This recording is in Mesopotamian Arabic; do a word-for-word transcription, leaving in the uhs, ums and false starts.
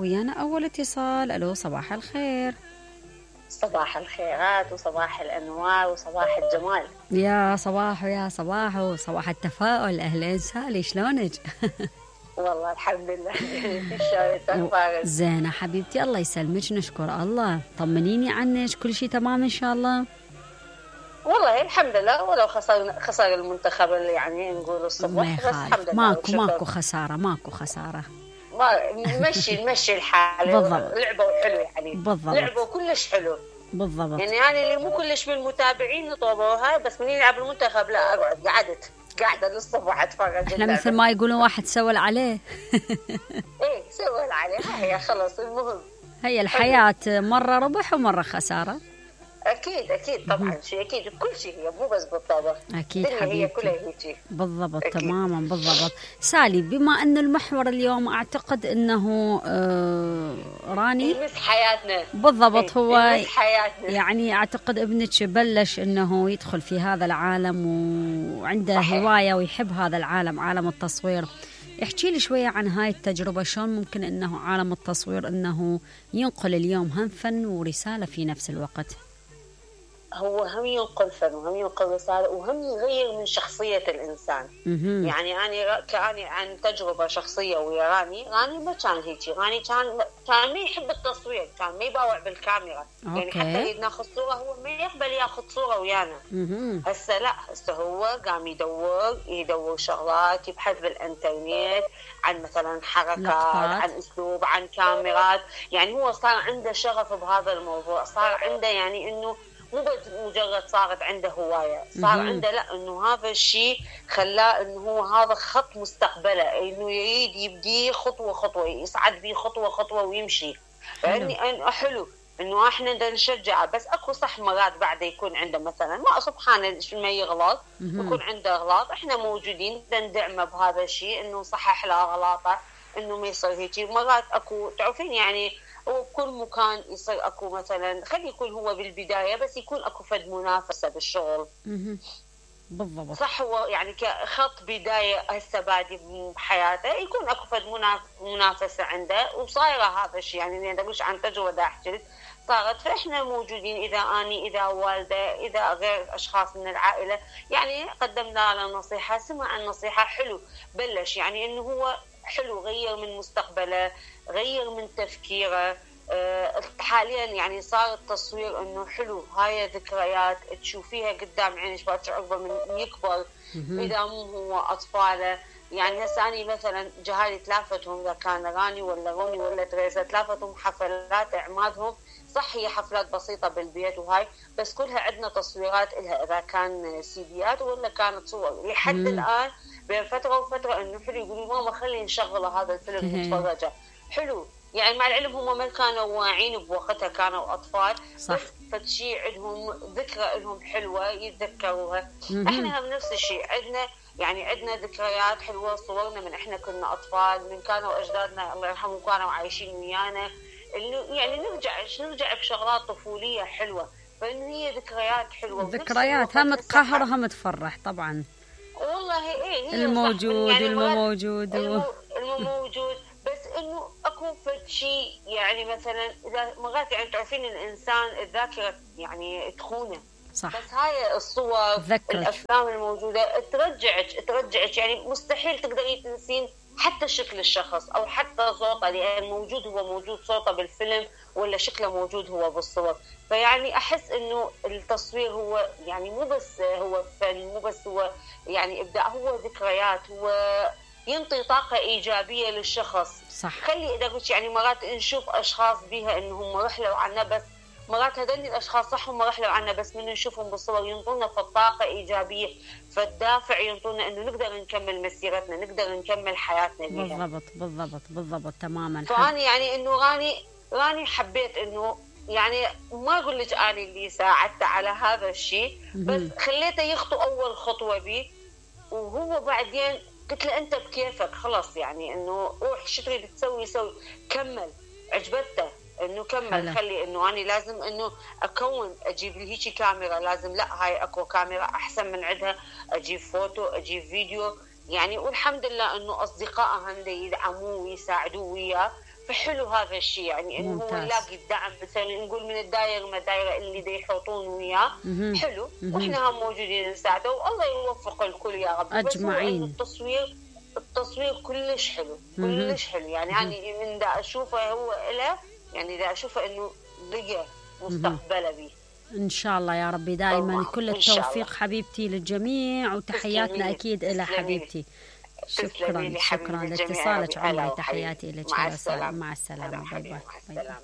ويانا أول اتصال. ألو صباح الخير. صباح الخيرات وصباح الأنوار وصباح الجمال. يا صباح ويا صباح وصباح التفاؤل. أهلين سالي، شلونك؟ والله الحمد لله. شلونك؟ زينة حبيبتي، الله يسلمك، نشكر الله. طمنيني عنك، كل شيء تمام إن شاء الله؟ والله الحمد لله، ولو خسر خسر المنتخب اللي يعني نقول الصبح، بس الحمد لله. ماكو ماكو خسارة، ماكو خسارة. ما نمشي نمشي الحال. بالضبط. لعبوا حلو يعني. بالضبط. لعبوا كلش حلو. بالضبط. يعني أنا اللي مو كلش من المتابعين طوبوها، بس من يلعب المنتخب لا أقعد قعدت قاعدة للصبح أتفرج. إحنا مثل ما يقولون واحد سول عليه. إيه سول عليه، هي خلاص المهم. هي الحياة مرة ربح ومرة خسارة. أكيد أكيد طبعا شيء أكيد، كل شيء هي مو بس بالطبخ. أكيد حبيبتي. هي كلها هيك. بالضبط أكيد. تماما بالضبط. سالي، بما أن المحور اليوم أعتقد أنه آه راني يمس حياتنا. بالضبط. هو يمس حياتنا. يعني أعتقد ابنك بلش أنه يدخل في هذا العالم وعنده صحيح. هواية ويحب هذا العالم، عالم التصوير. احكي لي شوية عن هاي التجربة، شلون ممكن أنه عالم التصوير أنه ينقل اليوم هم فن ورسالة في نفس الوقت؟ هو هم ينقل فن وهم ينقل رسالة وهم يغير من شخصية الإنسان. مم. يعني أنا كأني عن تجربة شخصية ويا راني راني ما كان هيك. راني كان كان ما يحب التصوير، كان ما يباوع بالكاميرا. أوكي. يعني حتى يريد ناخذ صورة هو ما يقبل ياخذ صورة ويانا. هسه لا، هسه هو قام يدور يدور شغلات، يبحث بالإنترنت عن مثلا حركات، عن أسلوب، عن كاميرات. يعني هو صار عنده شغف بهذا الموضوع، صار عنده يعني إنه مو بس مجرد صارت عنده هواية، صار عنده لا إنه هذا الشيء خلاه إنه هو هذا خط مستقبله، إنه يريد يبدي خطوة خطوة، يصعد بيه خطوة خطوة ويمشي. يعني أنا حلو إنه إحنا دا نشجعه، بس أكو صح مرات بعد يكون عنده مثلا ما سبحانه ما يغلط، يكون عنده غلط، إحنا موجودين دا ندعمه بهذا الشيء، إنه صحح له غلطه، إنه ما يصير هيك. مرات أكو تعرفين يعني وبكل مكان يصير أكو مثلا خلي يكون هو بالبداية بس يكون أكو فد منافسة بالشغل. بالضبط. صح، هو يعني كخط بداية هسه بادي بحياته يكون أكو فد منافسة عنده، وصايرة هذا الشيء. يعني أنا أقولش عن تجربة دا أحكي صارت. فإحنا موجودين، إذا أني إذا والدة إذا غير أشخاص من العائلة يعني قدمنا له نصيحة، سمع النصيحة حلو، بلش يعني إنه هو حلو، غير من مستقبله، غير من تفكيره. أه حاليا يعني صار التصوير انه حلو، هاي ذكريات تشوفيها قدام عينك باكر عقبه من يكبر اذا مو هو اطفاله. يعني هسه اني مثلا جهالي تلافتهم، اذا كان راني ولا روني ولا تريسا، تلافتهم حفلات اعمادهم، صح هي حفلات بسيطه بالبيت وهاي، بس كلها عندنا تصويرات لها، اذا كان سيديات ولا كانت صور. لحد الان بين فتره وفتره انه حلو يقولوا ماما خلي نشغل هذا الفيلم نتفرجه. حلو يعني مع العلم هم ما كانوا واعين بوقتها، كانوا اطفال صح. بس فشي عندهم ذكرى لهم حلوه يتذكروها. احنا هم نفس الشيء عندنا، يعني عندنا ذكريات حلوه، صورنا من احنا كنا اطفال، من كانوا اجدادنا الله يرحمهم كانوا عايشين ويانا، انه يعني نرجع نرجع بشغلات طفوليه حلوه، فانه هي ذكريات حلوه. ذكريات هم تقهر هم تفرح طبعا. والله ايه، الموجود يعني والمو موجود المو موجود، بس انه اكو شيء يعني مثلا اذا مرات يعني تعرفين الانسان الذاكره يعني تخونه، صح. بس هاي الصور ذكرت. الافلام الموجوده ترجعك ترجعك يعني مستحيل تقدري تنسين حتى شكل الشخص او حتى صوته، لان موجود هو موجود صوته بالفيلم ولا شكله موجود هو بالصور. فيعني احس انه التصوير هو يعني مو بس هو فن، مو بس هو يعني ابداع، هو ذكريات، هو ينطي طاقه ايجابيه للشخص. صح. خلي اذا قلت يعني مرات نشوف اشخاص بها انهم رحلوا عنا، بس مرات هذول الاشخاص صح هم رحلوا عنا، بس من نشوفهم بالصور ينطونا في الطاقه ايجابيه، فالدافع ينطونا انه نقدر نكمل مسيرتنا، نقدر نكمل حياتنا بيها. بالضبط بالضبط بالضبط تماما. فاني يعني انه راني راني حبيت انه يعني ما اقول لك اني اللي ساعدته على هذا الشيء، بس خليته يخطو اول خطوه بي، وهو بعدين قلت له انت بكيفك خلاص، يعني انه روح شو تريد تسوي سوي، كمل. عجبته انه كمل حلو. خلي انه انا لازم انه اكون اجيب لي هيك كاميرا، لازم لا هاي اكو كاميرا احسن من عندها، اجيب فوتو اجيب فيديو يعني. والحمد لله انه اصدقائه هم يدعموه ويساعدوه وياه، فحلو هذا الشيء، يعني انه هو يلاقي الدعم، مثلا نقول من الدائره ما الدائره اللي دا يحوطون وياه حلو، واحنا هم موجودين نساعده، والله يوفق الكل يا رب اجمعين. التصوير التصوير كلش حلو كلش حلو، يعني انا من دا اشوفه هو له، يعني دا اشوفه انه لقى مستقبله به ان شاء الله يا ربي. دائما كل التوفيق حبيبتي للجميع، وتحياتنا اكيد الى حبيبتي. شكرا شكرا لاتصالك عمري، تحياتي لك. مع السلامه. مع السلامه. باي باي.